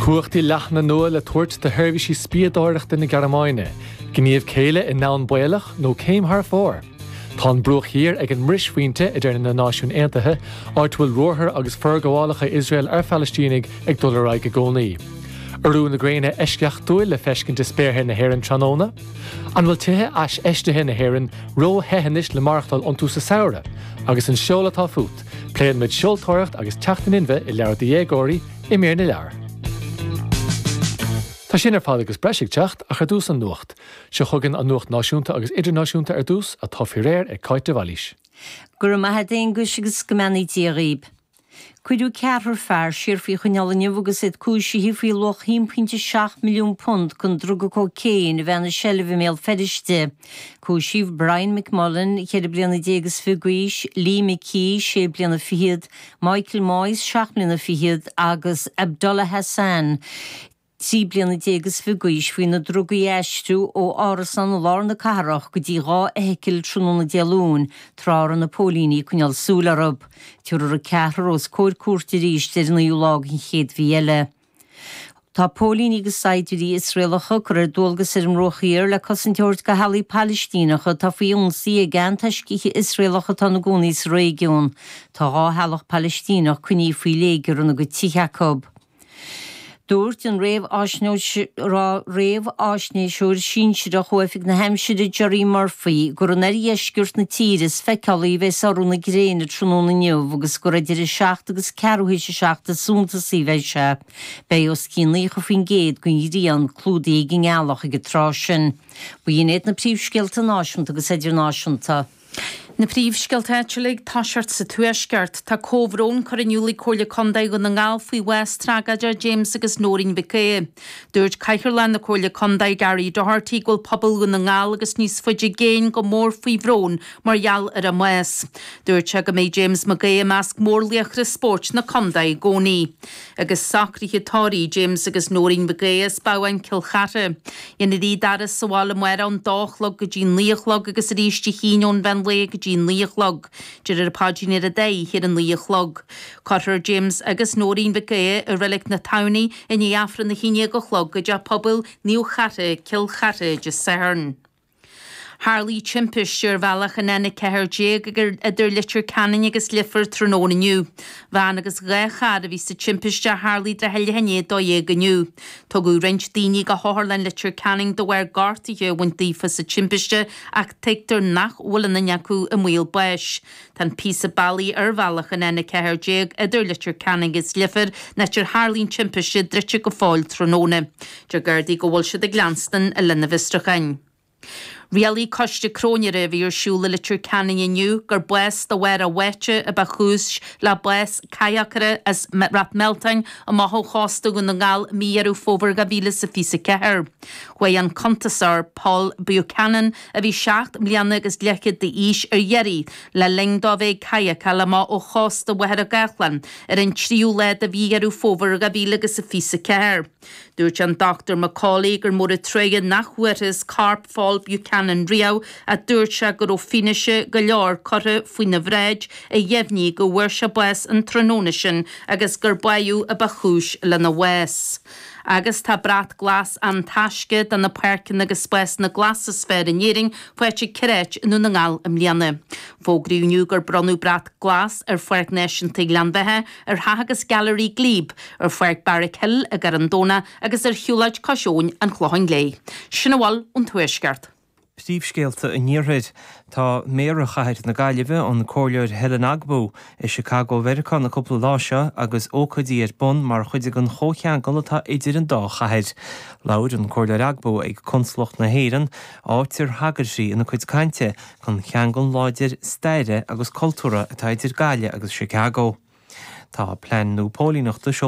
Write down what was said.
Cumhachtaí leathana nua le tabhairt do sheirbhísí spiadóireachta na Gearmáine, gníomh céille i ndomhan baolach nó céim thar fóir? Tá an Bruach Thiar ag an mbrisbphointe, a deir na Náisiúin Aontaithe, áit a bhfuil ruathair agus forghabhálacha Iosrael ar Phalaistínigh ag dul ar aghaidh i gcónaí. Urú na gréine eisceachtúil le feiscint i spéartha na hÉireann tráthnóna. An bhfuil tithe aisfheistithe na hÉireann ró-the anois le maireachtáil iontu sa samhradh? Agus an seol atá fút? Pléann muid seoltóireacht agus teacht in inmhe i leabhar do dhéagóirí i mír na leabhar. Tá sin ar fad agus breis ag teacht, ach ar dtús an nuacht. Seo chugainn an nuacht náisiúnta agus idirnáisiúnta ar dtús, atá faoi réir ag Cáit de Bhailís. Go raibh maith a't Aonghus agus go mbeannaí Dia dhaoib. Cuireadh ceathrar fear siar faoi choinneáil inniu agus iad cúisithe faoi luach £1.7 milliún den druga cócaon a bheith ina seilbh i mBéal Feirste. Cúisíodh Brian McMullen, cheithre bliana déag is fiche d'aois, Lee McKee, sé bliana fichead, Michael Moyes, seacht mbliana fichead, agus Abdullah Hassan, 13 bliana is fiche d'aois, faoi na drugaí a aistriú ó árasán i lár na cathrach go dtí 2 fheithicil tráthnóna Dé Luain, tráth a raibh na póilíní ag coinneáil súil orthu. Tabharfar an ceathrar os comhair cúirte arís ar an naoú lá den chéad mhí eile. Tá póilíní agus saighdiúirí Iosraelacha curtha ar dualgas ar an mBruach Thiar le cosaint a thabhairt do theaghlaigh Palaistíneacha atá faoi ionsaí ag antoiscithe Iosraelacha atá ina gcónaí sa réigiún. Tá 2 theaghlach Palaistíneach coinnithe faoi léigear ina gcuid tithe acu. Dúirt an réamháisnéiseoir sinsearach ó Oifig na hAimsire Gerry Murphy gur in oirdheisceart na tíre is feiceálaí a bheas urú na gréine tráthnóna inniu agus gur idir 7 agus ceathrú théis a 7 is suntasaí a bheidh sé. Beidh os cionn 90% den ghrian clúdaithe ag an ngealach ag an tráth sin. B'in iad na príomhscéalta náisiúnta agus idirnáisiúnta. Na príomhscéalta áitiúla ag toiseacht sa Tuaisceart. Tá comhbhrón curtha in iúl ag Comhairle Contae Dhún na nGall faoi bhás tragóideach James agus Nóirín Mhic Aodha. Dúirt Cathaoirleach na Comhairle Contae Gary Doherty go bhfuil pobal Dhún na nGall agus níos faide i gcéin go mór faoi bhrón mar gheall ar a mbás. Dúirt sé go mbeidh James Mac Aodha i measc mórlaochra spóirt na contae i gcónaí. Agus socruithe tórraimh James agus Nóirín Mhic Aodha as Babhán, Cill Chartha. Dhéanfar iad a fhaire sa bhaile amárach ón dó a chlog go dtí naoi a chlog agus arís Dé hAoine ón mheán lae go dtí naoi a chlog. Déarfar an paidrín ar an dá oíche ar a naoi a chlog. Cuirfear James agus Nóirín Mhic Aodha i Reilig na Tamhnaí i ndiaidh Aifreann a haon déag a chlog i dTeach Pobail Naomh Chartha, Cill Chartha, Dé Sathairn. Tharlaigh timpiste ar bhealach an N14 idir Leitir Ceanainn agus Leifear tráthnóna inniu. Veain agus 2 charr a bhí sa timpiste a tharlaigh trath leath i ndiaidh 12 inniu. Tugadh roinnt daoine go hOtharlann Leitir Ceanainn de bharr gortuithe a bhaint daofa sa timpiste ach tuigtear nach bhfuil aon duine acu i mbaol báis. Tá an píosa bealaigh ar bhealach an N14 idir Leitir Ceanainn agus Leifear, an áit ar tharlaigh an timpiste, druidte go fóill tráthnóna. Deir Gardaí go bhfuil siad ag leanstan lena bhfiosrúcháin. Rialaigh coiste cróinéara a bhí ar siúl i Leitir Ceanainn inniu gur bás de bharr a bháite a ba chúis le bás cadhacaire as Rath Mealtain amach ó chósta Dhún na nGall i mí Dheireadh Fómhair 2024. Chuaigh an cuntasóir Paul Buchanan, a bhí 7 mbliana agus leathchéad d'aois, ar iarraidh le linn dó a bheith ag cadhacáil amach ó chósta Mhachaire Gathlán ar an tríú lá de mhí Dheireadh Fómhair 2024. Dúirt an Dr McCauley gur mór an truaighe nach bhfuarthas corp Phaul Buchanan riamh ach dúirt sé go raibh fianaise go leor curtha faoina bhráid a dheimhnigh go bhfuair sé bás an tráthnóna sin agus gur báitheadh a ba chúis lena bhás. Agus tá Brat Glas An Taisce do na páirceanna agus spásanna glasa is fearr in Éirinn faighte ag ceithre áit i nDún na nGall i mbliana. Fógraíodh inniu gur bronnadh Brat Glas ar Pháirc Náisiúnta Ghleann Bheatha, ar Theach agus Gailearaí Glebe, ar Pháirc Barrack Hill i gCarn Domhnach agus ar Shiúlóid Cois Abhainn an Chlocháin Léith. Sin a bhfuil ón Tuaisceart. Príomhscéalta an Iarthair. Tá Méara Chathair na Gaillimhe, an Comhairleoir Helen Ogbu, i Chicago Mheiriceá na cúpla lá seo agus ócáidí ar bun mar chuid den chomhcheangal atá idir an dá chathair. Labhair an Comhairleoir Ogbu ag Consalacht na hÉireann, áit ar thagair sí ina cuid cainte don cheangal láidir staire agus cultúrtha atá idir Gaillimh agus Chicago. Tá plean nua póilíneachta.